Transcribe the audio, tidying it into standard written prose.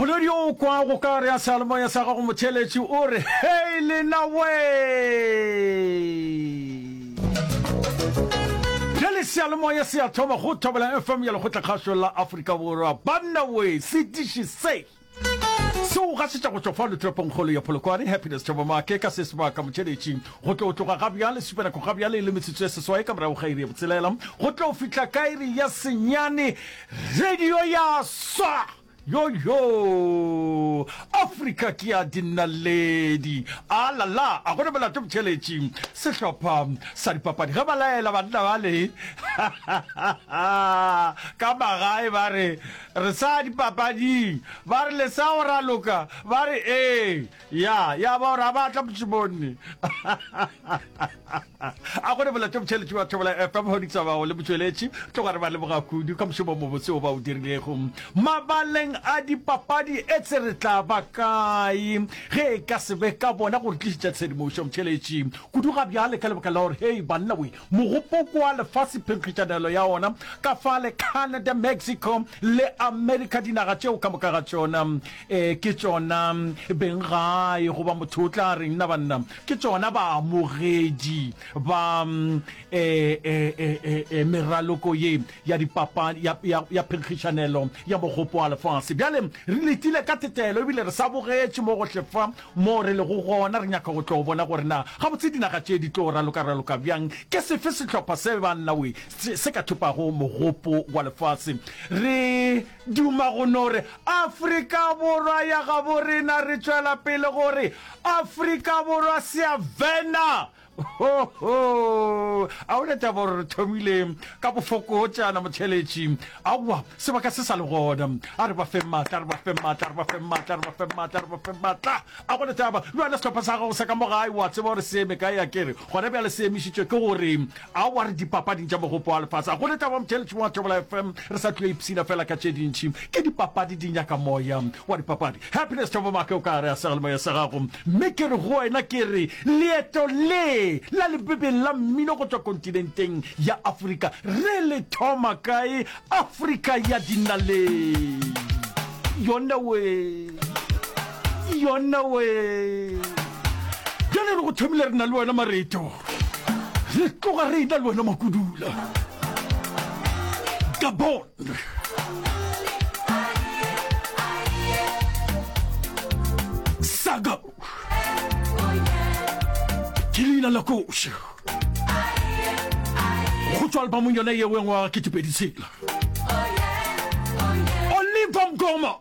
Poledi o kwa go ka re ya seyalemoya sa gago motheeletši o re, Hei lena wee! Bjale seyalemoya se a thoma go Thobela FM ya Lekgotlakgašo la Afrika Borwa. Banna wee, setiši se se o gašetša go tšwa fano toropongkgolo ya Polokwane, Happiness Thobomake ka se sebaka motheeletši go tlo tloga ga bjale supanako ga bjale e le metsotso e seswai ka morago ga iri ya botshelela go tlo fihla ka iri ya senyane radio ya swa. Yo-yo! Afrika ke ya dinaledi. A la la, a go na molato motšheletši. Sehlopha sa dipapadi ge ba laela banna bale ka magae ba re, re sa dipapading. Ba re le sa go raloka? Ba re ee. Ya, ya ba gore a ba tla mošomong. A go ne molato motšheletši wa Thobela FM Hoditsa Bago le motšweletši tloga re ba leboga kudu ka mošomo mobotse o ba o dirilego mabaleng a dipapadi. Etse re tla ba kae ge e ka se be ka bona go re tlišetša tshedimošo motšheletši kudu ga bjale ka lebaka la gore hei banna we mogopoko wa lefase phenkgišanelo ya ona ka fale Canada, Mexico le America dinaga tšeo ka moka ga tšona um ke tšona beng gae goba motho o tla reng na banna Ke tšona baamogedi ba e, e, e, e, e, meraloko ye ya dipapadi, ya, ya, ya phenkgišanelo ya mogopo wa lefase. Bjale re letile ka tetelo ebile re sa bogetše mo gohle fa mo re lego gona, re nyaka go tlo bona gore na gabotse dinaga tše di tlo raloka-raloka bjang. Ke sefe sehlopha se banna we se, se ka thopago mogopo wa lefase? Re duma go no re Afrika Borwa ya gabo rena, re tšwela pele gore Afrika Borwa se a vena! Ho, ho! A o ne taba gore re thomile ka bofokotšana, motheeletši? Aowa, sebaka se sa le gona. A re ba fe maatla, a re ba fe maatla, a re ba fe maatla, a re ba fe maatla, a re ba fe maatla. A go ne taba. Le wena sehlopha sa gago sa ka mo gae, o a tseba gore se eme kae, a ke re? Gona bjale se emišitšwe ke gore Aowa, re dipapading tša mogopo wa lefase. A go ne taba, motheeletši wa Thobela FM, re sa tlilo ipshina fela ka tše dintši. Ke dipapadi di nyaka moya wa dipapadi. Happiness Thabo Make o ka gare a seyalemoya sa gago. Mme ke re go wena ke re, leeto le la lebebeng la mmino go tšwa kontinenteng ya Afrika re le thoma kae? Afrika ya dinaledi. Yona we. Yona we. Bjale re go thomile re na le wena Mareto. Re tloga re ena le wena Makudula. Gabon. Saga. Ke leina la koša. Go tšwa albamong yona yeo ya ngwaga 2006. Oliver Mgoma.